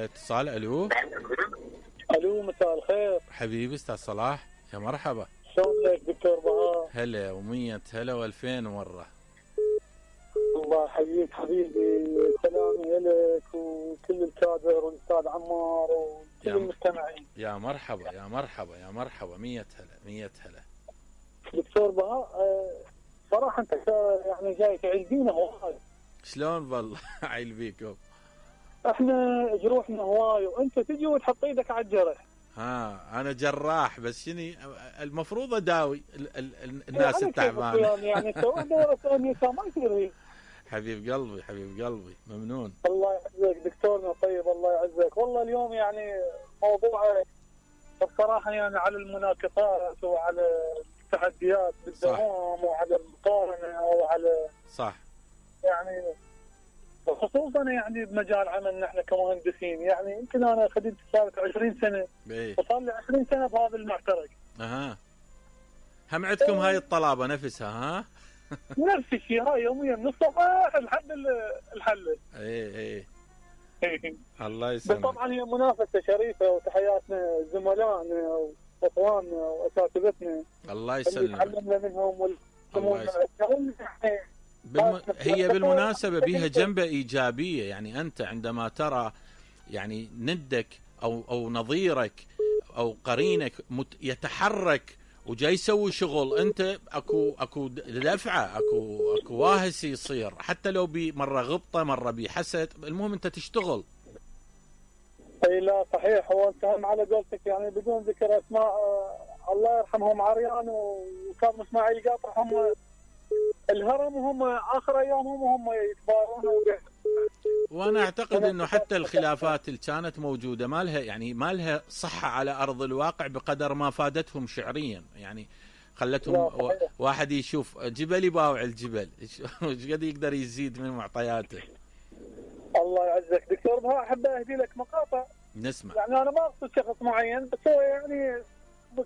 اتصال. الو الو، مساء الخير حبيبي استاذ صلاح، يا مرحبا. شلونك دكتور بهاء؟ هلا ومية هلا والفين مرة. الله يحييك حبيبي، سلامي لك وكل الكادر والاستاذ عمار وكل المستمعين. يا مرحبا يا مرحبا يا مرحبا، مية هلا مية هلا. دكتور بهاء، صراحة انت يعني جاي تعيدينا هواي. شلون والله عيل بيكم؟ احنا جروحنا هواي وانت تجي وتحط ايدك على الجرح. انا جراح، بس شني المفروض اداوي الناس التعبانه. يعني سواء دوره ثانيه ما يصير. حبيب قلبي حبيب قلبي، ممنون. الله يعزك دكتورنا طيب، الله يعزك. والله اليوم يعني موضوع بصراحه يعني على المناقصات وعلى التحديات بالدوام وعلى المقارنه وعلى صح، يعني خصوصا يعني بمجال عملنا احنا كمهندسين. يعني يمكن انا خدمت صارت 20 سنه وصار لي 20 سنه بهذا المعترك. هم عندكم هاي الطلابه نفسها؟ ها نفس الشيء، هاي يوميا من الصباح لحد الحل. ايه الله يسلمك. بس طبعا هي منافسه شريفه، وتحياتنا زملائنا واخواننا واساتذتنا الله يسلمك، تعلمنا منهم هي بالمناسبة بها جنبة إيجابية. يعني أنت عندما ترى يعني ندك أو نظيرك أو قرينك يتحرك وجاي يسوي شغل، أنت أكو دفعة، أكو واهس يصير، حتى لو مرة غبطة مرة بحسد، المهم أنت تشتغل. اي لا صحيح. هو انت هم على قولتك يعني بدون ذكر اسماء، الله يرحمهم عريان وكاظم اسماعيل قاطع، هم الهرم وهم اخر ايامهم وهم يتبارون. وانا اعتقد انه حتى الخلافات اللي كانت موجوده ما لها صحه على ارض الواقع بقدر ما فادتهم شعريا. يعني خلتهم واحد يشوف جبل يباوع الجبل، ايش قد يقدر يزيد من معطياته. الله يعزك دكتور بهاء، احب اهدي لك مقاطع نسمع. يعني انا ما اقصد شخص معين، بس هو يعني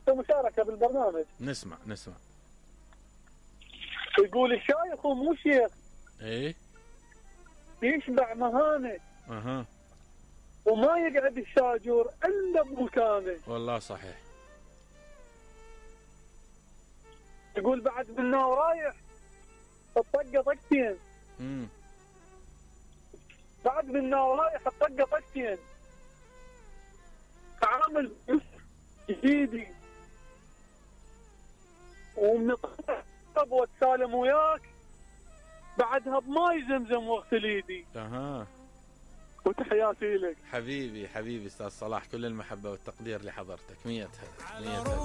مشاركه بالبرنامج. نسمع. يقول الشايخ ومو شيخ ايه يشبع مهانه وما يقعد الشاجور الا بمكانه. والله صحيح. يقول بعد منا ورايح الطقه طقتين. بعد منا ورايح الطقه طقتين، تعامل جديدي ومنطق واتسالم وياك، بعدها بماي زمزم واغسل ايدي. وتحياتي لك حبيبي استاذ صلاح، كل المحبه والتقدير لحضرتك. 100 هلا.